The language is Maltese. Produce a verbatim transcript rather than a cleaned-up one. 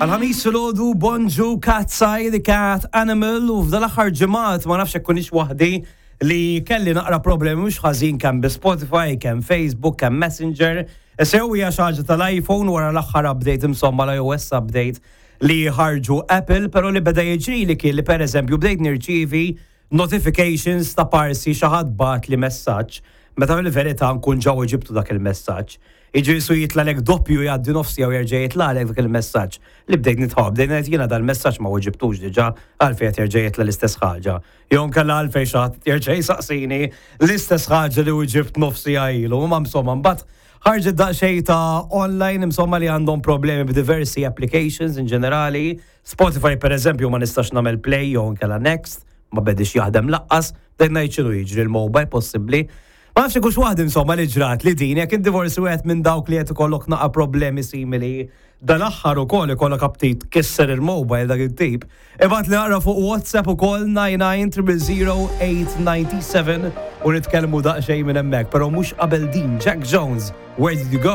Għal-Ħamis filgħodu, bonġu, Katseye, The Cat Animal, u f'dal-aħħar ġimgħat ma nafx kunix waħdi li kelli naqra problemi mhux ħażin kemm bi Spotify, kemm Facebook, kemm Messenger. Sew hija xi ħaġa tal-iPhone wara l-aħħar update, insomma l-iOS update li ħarġu Apple, però li beda jiġri li kien li pereżempju bdejt nirċievi notifications ta' parsi xi ħadd bagħatli messaġġ meta fil-verità nkun ġa weġibtu dak il-messaġġ. Iġi su jitlagħlek doppju, jgħaddi nofsi jew jerġa' jitlagħlek dak il-messaġġ. Li bdejt nitħobb, bdejt ngħid jiena dal-messaġġ ma weġibtux diġà, għalfejn qed jerġa' jitla' l-istess ħaġa? Jew nkella għalfejn xi ħadd jerġa' jsaqsini l-istess ħaġa li weġibt nofsi ilu? Ma insomma, mbagħad ħarġet daqsxejn ta' online insomma li għandhom problemi b'diversi applications in ġenerali. Spotify, per eżempju, ma nistax nagħmel play jew nkella next, ma bedix jaħdem lanqas, bdejt ngħid x'inhu jiġri, il-mobile possibbli. Ma nafx kux waħdi insomma li ġrat li din, jekk inti forsi wieħed minn dawk li qed ikollok naqa problemi simili dal-aħħar ukoll, ikollok aptit kisser il-mobile dak it-tip. Ibgħatli naqra fuq WhatsApp ukoll nine nine zero zero eight nine seven u nitkellmu daqsxejn minn hemmhekk, però mhux qabel din, Jack Jones, "Where Did You Go?"